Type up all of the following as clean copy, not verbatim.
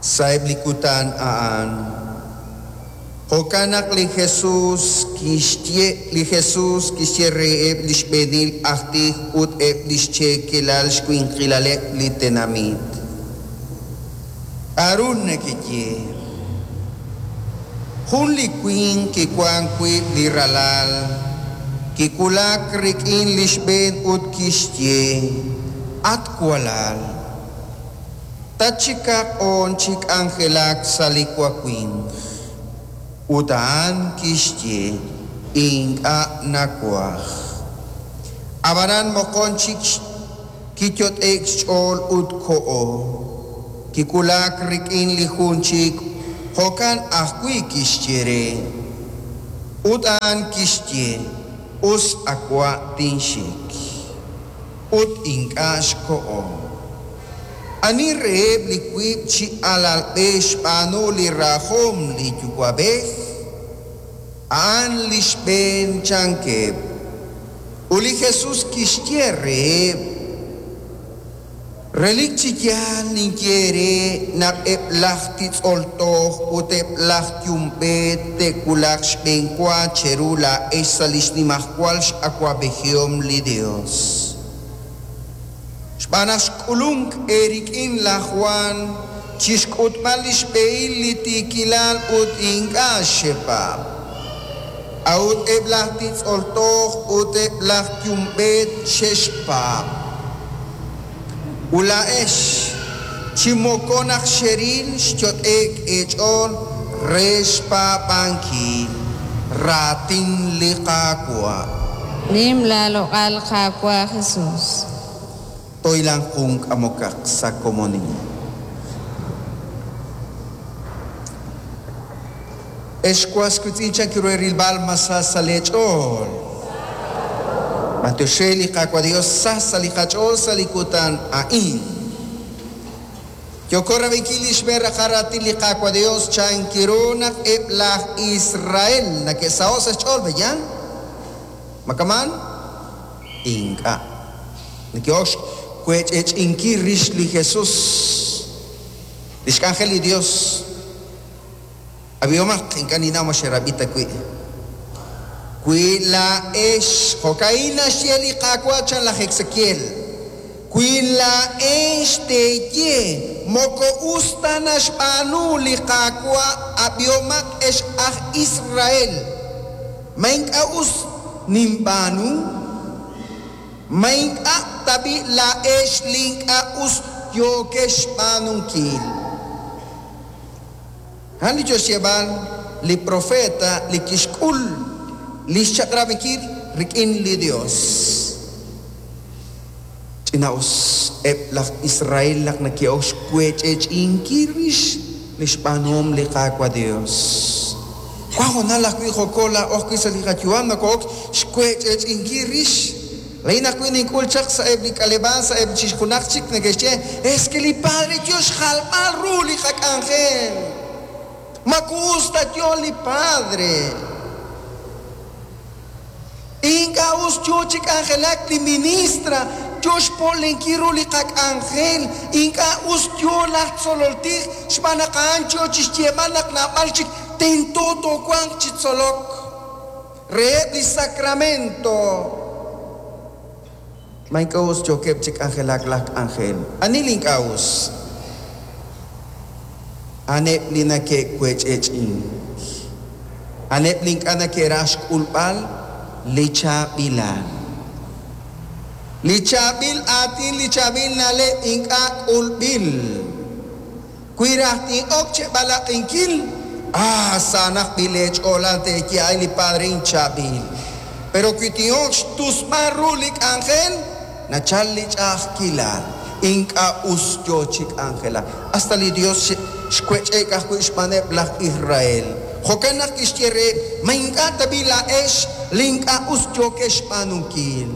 Sa'eb' li kutan a'an. Jo'kan naq li Jesus kixye li Jesus kixye reheb' li xb'eenil aj tij ut eb' li xcheekelal xwinqilaleb' li tenamit, K'aru nekeye? Jun li winq kiwank wiib' li ralal, kiwulak rik'in li xb'een ut kixye, At walal, tatxikaq oon chi k'anjelak sa' li wawimq. Ut a'an kixye, Ink'a' nawaj. Ab'anan moqon chik Kiyot'e'k xch'ool ut koho. Kiwulak rik'in li jun chik, jo'kan ajwi' kixye re. Ut a'an kixye, Us a wa' tinxik. Ut ink'a' xkoho. Ani reheb' li wiib' chi alalb'ej xb'aanu li rajom li yuwa'b'ej? A'an li xb'een, chankeb'. Ut li Jesus kixye reheb', Relik chi yaal ninye eere naq eb' laj titz'ol toj ut eb' laj yumb'eet te'wulaq xb'eenwa cheru laa'ex sa' li xnimajwal x'awab'ejihom li Yos. Xb'aan naq xk'ulunk eerik'in laj Jwan chi xk'utb'al li xb'ehil li tiikilal ut ink'a' xepaab'. A'ut eb' laj titz'ol toj ut eb' laj yumb'eet xe'xpaab'. Ut laa'ex, chi moko naq xeril xyot'e'k eech'ool re xpaab'ankil raatin li Qaawa'. Nim laaloq'al Qaawa' Jesus. Toylan jun k'amokaq sa' komonil. Ex was wiitz'in chan ru eerilb'al ma sa sa' leech'ool? B'anyox re li Qaawa' Dios sa sa' li qach'ool sa' li kutan a'in. Yooko rab'inkil li xb'een raqal raatin li Qaawa' Dios chan ru naq eb' laj Israel neke'saho' sa' xch'ool, pe'yaal? Ma kama'an? Ink'a'. Neke'ok xwech'ech'inkil rix li Jesus, li xk'anjel li Dios. Ab'ihomaq, ink'a' ninnaw ma xerab'i ta wi'. Wi laa'ex, jo'ka'in naxye li Qaawa' chan laj Esekiel, wi laa'ex teeye, Moko us ta naxb'aanu li Qaawa', ab'ihomaq ex aj Israel, ma ink'a' us ninb'aanu? Ma ink'a' tab'i' laa'ex li ink'a' us yookex xb'aanunkil? A'an li yo xyeeb'al li profeta li kixk'ul li xchaq'rab'inkil rik'in li Yos. Ch'ina'us eb' laj Israel naq neke'ok xwech'ech'inkil rix li xb'aanuhom li Qaawa' Yos. Wank hoonal ajwi' jo'ko laa'o ajwi' sa' li qayu'am noko'ok xwech'ech'inkil rix. Laa'in ajwi' nink'ul chaq sa'eb' li k'aleb'aal sa'eb' chixjunaq chik neke'xye, Es que li padre yo xjalb'al ru li qak'anjel. Ma us ta yo li padre. Ink'a' us yo chi k'anjelak li ministra, yo xpo'lenkil ru li qak'anjel. Ink'a' us yo laj tzolol tij xb'aan naq a'an yo chi xyeeb'al naq naab'al chik tento toowanq chi tzolok reheb' li sacramento. Ma ink'a' us yookeb' chi k'anjelak laj k'anjel? Ani li ink'a' us? A'aneb' li nake'wech'ech'ink. A'aneb' li ink'a' neke'raj xk'ulb'al li chaab'ilal. Li chaab'il aatin, li chaab'il na'leb' ink'a' k'ulb'il. Wi raj tin'ok cheb'alaq'inkil, ah, saanaq b'i' leech'oolal teeye, Ay, li padre inchaab'il. Pero wi tin'ok xtusb'al ru li k'anjel, nachal li ch'a'ajkilal. Ink'a' us yo chi k'anjelak. Hasta li Dios xwech'e'k ajwi' xb'aaneb' laj Israel. Jo'kan naq kixye reheb', Ma ink'a' tab'i' laa'ex li ink'a' us yookex xb'aanunkil?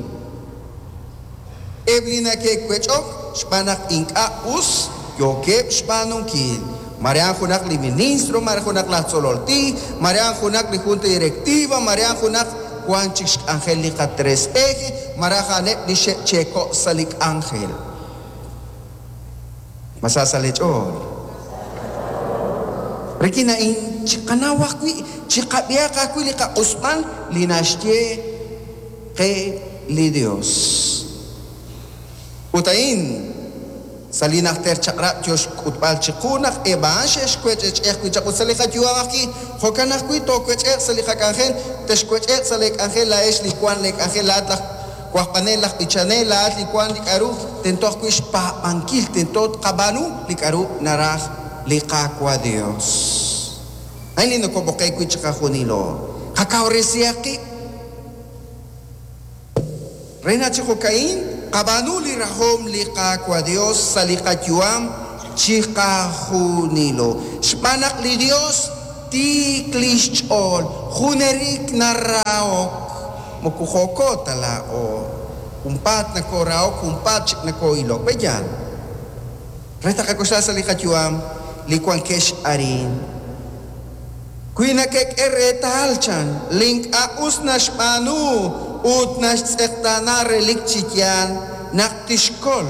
Eb' li neke'wech'ok xb'aan naq ink'a' us yookeb' xb'aanunkil. Mare a'an junaq li ministro, mare junaq laj tzolol tij, mare a'an junaq li junta directiva, mare a'an junaq wank chik xk'anjel li qatres eje, malaj a'aneb' li xe'cheeko' sa' li k'anjel. Ma sa sa' leech'ool? Rik'in a'in chiqanaw ajwi', chiqab'ihaq ajwi' li qaq'usb'al li naxye qe li Dios. Ut a'in sa' li Najter Chaq'rab' yo xk'utb'al chiqu naq eb' a'an xe'xwech'ech'e ajwi' chaq ut sa' li qayu'am ajwi', jo'kan ajwi' toowech'e'q sa' li qak'anjel, texwech'e'q sa' leek'anjel laa'ex li wank leek'anjel, laa'at laj wajb'anel, laj b'ichanel, laa'at li wank li k'aru tento ajwi' xpaab'ankil, tento tqab'aanu li k'aru naraj li Qaawa' Dios. A'in li nokob'oqe'k wi' chiqajunilo. Qakawresihaq qib'. Re naq chi jo'ka'in tqab'aanu li rajom li Qaawa' Dios sa' li qayu'am chiqajunilo. Xb'aan naq li Dios tiik li xch'ool, junelik narahok, moko jo'ko ta laa'o, junpaat nakoorahok, junpaat chik nakoo'ilok. Pe'yaal? Re taqak'oxla sa' li qayu'am li wankex arin. Wi nakek'e reetal, chan, li ink'a' us naxb'aanu ut naxtz'eqtaana relik chi yaal naq tixkol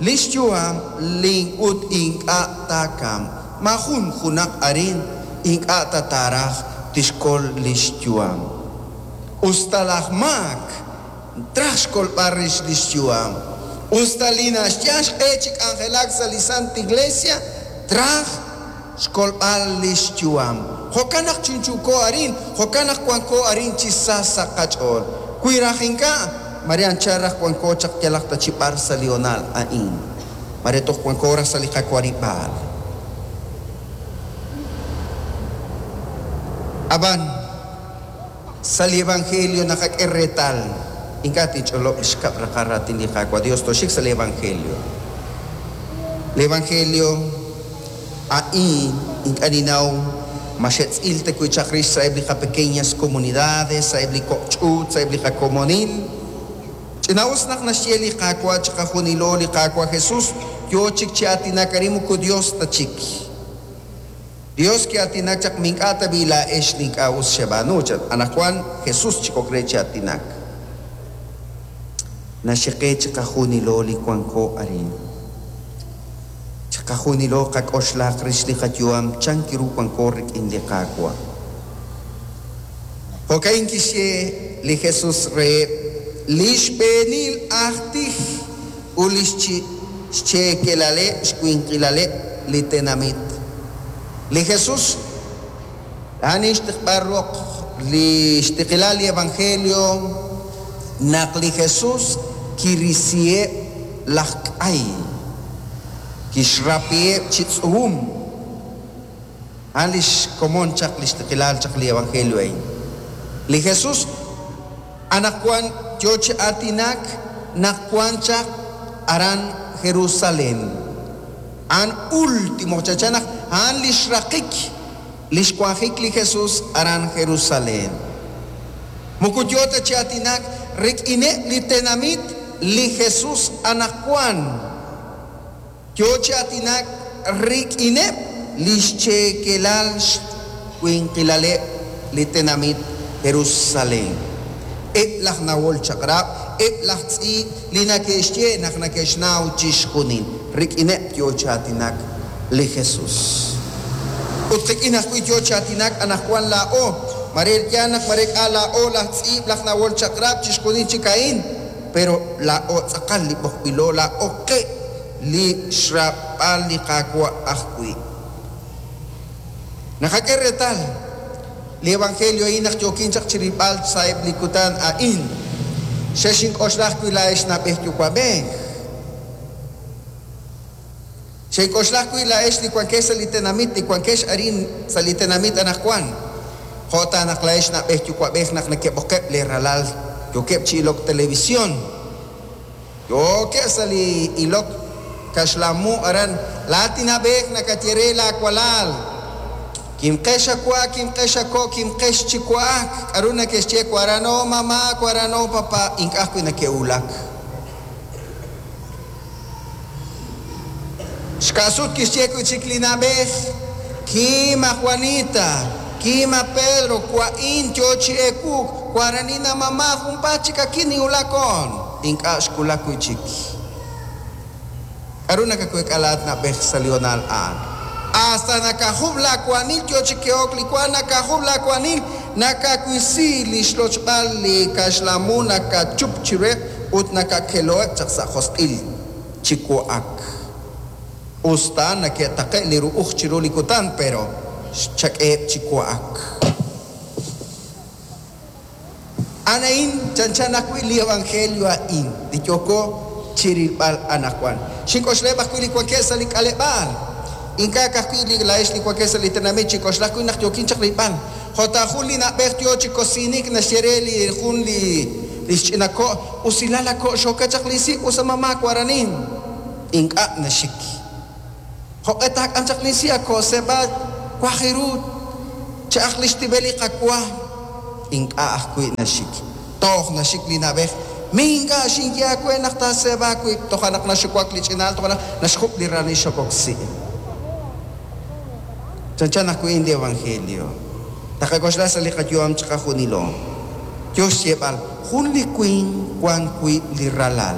li xyu'am li ut ink'a' taakamq. Maajun junaq arin ink'a' ta taaraj tixkol li xyu'am. Us ta laj maak Traj xkolb'al rix li xyu'am. Us ta li naxyal xq'e chi k'anjelak sa' li Sant Iglesia, traj xkolb'al li xyu'am. Jo'kan naq chunchuuko arin, jo'kan naq wanko arin chi sa sa' qach'ool. Wi raj ink'a', mare anchal raj wanko chaq yalaq ta chi b'ar sa' li hoonal a'in. Mare toj wanko raj sa' li qawarib'aal. Ab'an. Sa' li evangelio naqak'e reetal, ink'a' tinch'olob' li xkab' raqal raatin li Qaawa' Dios, tooxik sa' li evangelio. Li evangelio a'in ink'a' ninnaw ma xe'tz'il ta wi' chaq rix sa'eb' li qapequeñas comunidades, sa'eb' li kok' ch'uut, sa'eb' li qakomonil. Ch'ina'us naq naxye li Qaawa' chiqajunilo, li Qaawa' Jesus yoo chik chi aatinak arin moko Dios ta chik. Dios ki'aatinak chaq, Ma ink'a' tab'i' laa'ex li ink'a' us xeb'aanu? chan. Anaqwan Jesús chik ok re chi aatinak. Naxye qe chiqajunilo li wanko arin. Chiqajunilo qak'oxlaq rix li qayu'am chan ru wanko rik'in li Qaawa'. Jo'ka'in kixye li Jesús reheb' li xb'eenil aj tij ut li xcheekelaleb' xwinqilaleb' li tenamit. Li Jesús a'an xtiqb'al roq li xtiqilal li evangelio naq li Jesús kirisiheb' laj k'ay, kixrapiheb' chi tz'uum. A'an li xkomon chaq li xtiqilal chaq li evangelio a'in. Li Jesús Anaqwan yo chi aatinak naq wank chaq aran Jerusalén. A'an último, chanchan naq a'an li xraqik li xwanjik li Jesús aran Jerusalén. Moko yo ta chi aatinak rik'ineb' li tenamit li Jesús anaqwan. Yo chi aatinak rik'ineb' li xcheekelal xwinqilaleb' li tenamit Jerusalén, eb' laj nawol chaq'rab', eb' laj tz'iib' li nake'xye naq nake'xnaw chixjunil. Rik'ineb' yo chi aatinak li Jesús. Ut qik'in ajwi' yo chi aatinak anaqwan laa'o. Mare yaal naq mare k'a' laa'o laj tz'iib', laj nawol chaq'rab', chixjunil chik a'in. Pero laa'o tz'aqal li b'oqb'ilo, laa'o qe li xraab'al li Qaawa' ajwi'. Naqak'e reetal li evangelio a'in naq yookin chaq chirilb'al sa'eb' li kutan a'in. Xexink'oxla ajwi' laa'ex na'b'ej yuwa'b'ej. Xenk'oxla ajwi' laa'ex li wankex sa' li tenamit, li wankex arin sa' li tenamit anaqwan. Jo' ta naq laa'ex na'b'ej yuwa'b'ej naq nekeb'oqeb' lee ralal yookeb' chi ilok televisión, yookeb' sa' li ilok kaxlan mu aran, laa'at li na'b'ej nakaye re laawalal, Kimqex a wa, kimqex a ko', kimqex chi wa'ak. K'aru neke'xye warano mama, warano papa, ink'a' ajwi' neke'wulak. Xka'sut kixye wi' chik li na'b'ej, Kim a Juanita, kim a Pedro, wa'in yo chi ewuk, waranina mama, junpaat chik akin ninwulakon. Ink'a' xwulak wi' chik. K'aru nakaweek'a laa'at na'b'ej sa' li hoonal a'an? Hasta nakajub' laawaanil yo chi ke'ok li wa, nakajub' laawaanil, nakawisi li xlochb'al li kaxlamu nakachup chiruheb' ut nakakeloheb' chaq sa' josq'il chi wa'ak. Usta nake'taqe' li ru'uj chiru li kutan, pero xchak'eheb' chi wa'ak. A'an a'in chanchan ajwi' li evangelio a'in li yooko chi rilb'al anaqwan. Xink'oxlaheb' ajwi' li wankeb' sa' li k'aleb'aal. Ink'a' ka'ajwi' li laa'ex li wankeb' sa' li tenamit, xink'oxla ajwi' naq yookin chaq rilb'al. Jo' ta jun li na'b'ej yo chi kosinik naxye re li jun li li xch'ina ko', Usilal a ko' xoka chaq li si' us a mama waranin. Ink'a' naxik. Jo'q'e taak'am chaq li si' a ko' seb'a waj ru cha'aq li xtib'el li qawa. Ink'a' ajwi' naxik. Toj naxik li na'b'ej. Mi ink'a' xinye aawe naq taaseeb'a aawib'. Toja' naq naxuwak li ch'ina'al toja' naq naxjub' li raanil xokok si'. Chanchan ajwi' li evangelio. Taqak'oxla sa' li qayu'am chiqajunilo. Yo xyeeb'al jun li winq wan wiib' li ralal.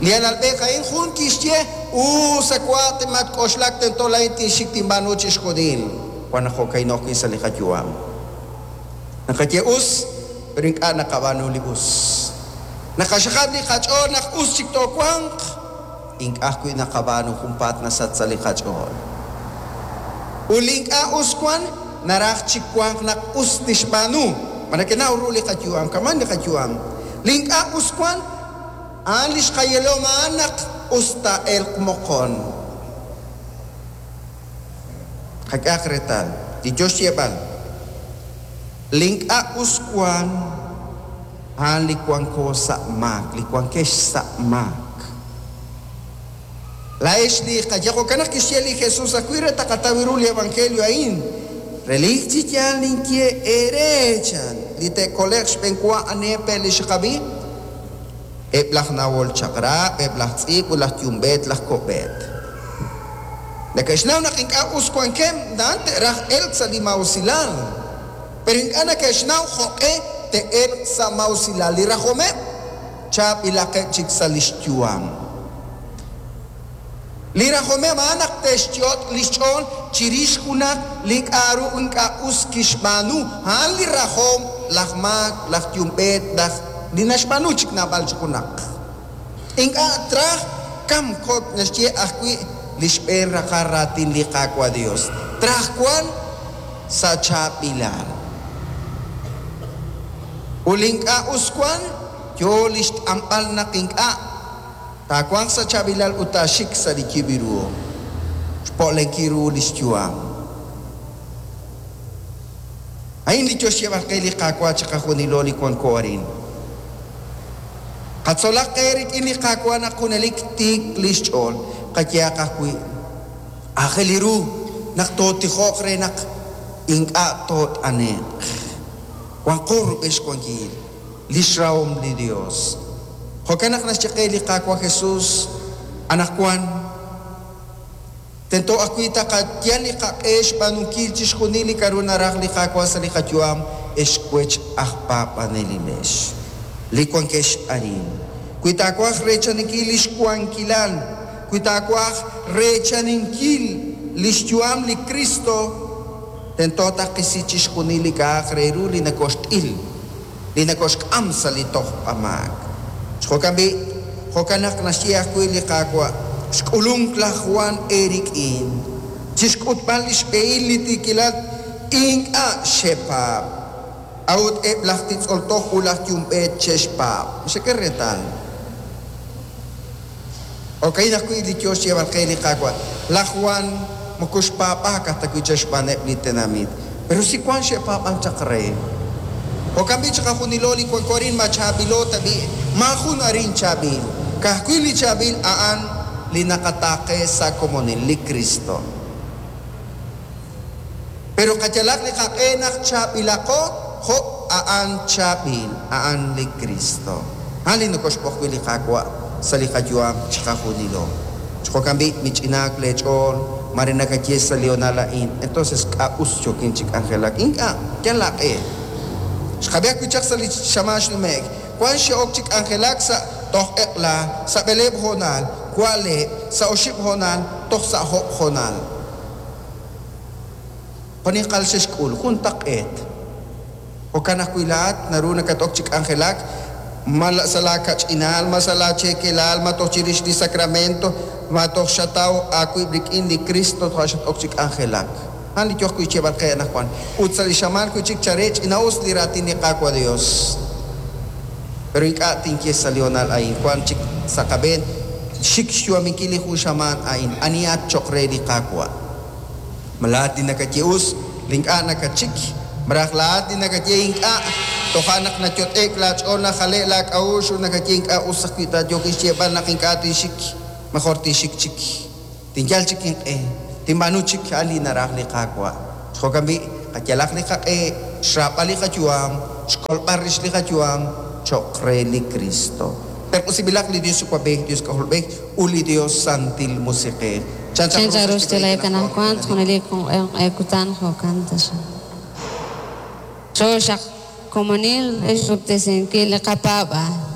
Li alalb'ej a'in jun kixye us a wa' matk'oxlak tento laa'in tinxik tinb'aanu chixjunil. Wan naq jo'ka'in ajwi' sa' li qayu'am. Naqaye us, pero ink'a' naqab'aanu li us. Naqaxaqab' li qach'ool naq us chik toowanq, ink'a' ajwi' naqab'aanu junpaat nasach sa' li qach'ool. Ut li ink'a' us wan, naraj chik wanq naq us tixb'aanu. Ma nekenaw ru li qayu'am, kaman li qayu'am. Li ink'a' us wan, a'an li xqayelom a'an naq us taa'elq moqon. Qak'ehaq reetal, li yo xyeeb'al. Li ink'a' us wan, a'an li wanko sa' maak, li wankex sa' maak. Laa'ex li qaye jo'kan naq kixye li Jesus ajwi' re taqataw ru li evangelio a'in. Relik chi yaal ninye eere chan li te'kole'q xb'enwa aneb' pe' li xqab'i. Eb' laj nawol chaq'rab', eb' laj tz'iib' ut laj yumb'eet laj ko'b'eet. Neke'xnaw naq ink'a' us wankeb', na'an te'raj elk sa' li maa'usilal. Pero ink'a' neke'xnaw jo'q'e te'elq sa' maa'usilal li rajomeb', chaab'ilaqeb' chik sa' li xyu'am. Li rajomeb' a'an naq te'xyot' li xch'ool chirix junaq li k'a'ru ink'a' us kixb'aanu. A'an li rajom laj maak, laj yumb'eet, laj li naxb'aanu chik naab'al chi junaq. Ink'a' traj kamk jo' naxye ajwi' li xb'een raqal raatin li Qaawa' Dios. Traj wan sa' chaab'ilal. Ut li ink'a' us wan, yo li xt'anb'al naq ink'a' taawanq sa' chaab'ilal ut taaxik sa' li yib' ru. Xpo'lenkil ru li xyu'am. A'in li yo xyeeb'al qe li Qaawa' chiqajunilo li wanko arin. Qatzolaq qe rik'in li Qaawa' naq junelik tiik li xch'ool. Qayehaq ajwi' aajel li ru naq tootijoq re naq ink'a' toot'ane'q. Wanqo rub'el xwankil li xrahom li Dios. Jo'kan naq naxye qe li Qaawa' Jesus anaqwan tento ajwi' taqayal li qaq'e xb'aanunkil chixjunil li k'a'ru naraj li Qaawa' sa' li qayu'am ex wech aj paab'anelilex. Li wankex arin. Wi taawaj reechaninkil li xwankilal, wi taawaj reechaninkil li xyu'am li Cristo, tento taqisi chixjunil li k'a'aq re ru li nakoxt'il, li nakoxk'am sa' li tojb'amaak. Jo'kan b'i', jo'kan naq naxye ajwi' li Qaawa', xk'ulunk laj Juan eerik'in, chixk'utb'al li xb'ehil li tiikilal ink'a' xepaab'. A'ut eb' laj titz'ol toj ut laj yumb'eet xe'xpaab'. Xek'e reetal. Jo'ka'in ajwi' li yo xyeeb'al qe li Qaawa'. Laj Juan moko xpaab'aak aj ta wi' chaq xb'aaneb' li tenamit. Pero si wan xe'paab'ank chaq re. Jo'kan b'i' chiqajunilo li wanko arin ma chaab'ilo ta b'i', maajun arin chaab'il. Ka'ajwi' li chaab'il a'an li naqataaqe sa' komonil, li Cristo. Pero qayalaq li qaq'e naq chaab'ilaqo jo' a'an chaab'il, a'an li Cristo. A'an li nokoxb'oq wi' li Qaawa' sa' li qayu'am chiqajunilo. Jo'kan b'i' mich'inaak leech'ool, mare nakaye sa' li honal a'in. Entonces k'a' us yookin chi k'anjelak. Ink'a', yal laaq'e. Xqab'i ajwi' chaq sa' li xamaan xnume'k. Wan xe'ok chi k'anjelak sa' toj eq'la, sa' b'eleeb' hoonal, wa'leb', sa' oxib' hoonal, toj sa' job' hoonal. Jo'ninqal xe'xk'ul, juntaq'eet. Jo'kan ajwi' laa'at naru nakat-ok chi k'anjelak, ma sa' laakach'inal, ma sa' laacheekelal, ma toj chirix li sacramento, ma toj xataw aawib' rik'in li Cristo toja' xat-ok chi k'anjelak. A'an li yooq wi' xyeeb'al qe anaqwan. Ut sa' li xamaan wi' chik chare ch'ina'us li raatin li Qaawa' Dios. Pero ink'a' tinye sa' li hoonal a'in, wank chik sa' qab'een xik xyu'aminkil li jun xamaan a'in. Anihat cho'q re li Qaawa'? Ma laa'at li nakaye us, li ink'a' nakatxik? Malaj laa'at li nakaye ink'a', toja' naq nayot'e'k laach'ool najale'k laak'a'uxl ut nakaye ink'a' us ajwi' taayookin xyeeb'al naq ink'a' tinxik, mejor tinxik chik. Tinyal chik inq'e, tinb'aanu chik a'an li naraj li Qaawa'. Chi jo'kan b'i', qayalaq li qaq'e xraab'al li qayu'am, xkolb'al rix li qayu'am cho'q re li Kristo. Terq'usinb'ilaq li Dios Yuwa'b'ej, Dios K'ajolb'ej, ut li Dios Santil Musiq'ej. Chan chaq ru xtiklajik anaqwan, junelik junq'e junq'e kutan jo'kan taxaq. Chooxaq komonil re xpuktesinkil li qapaab'aal.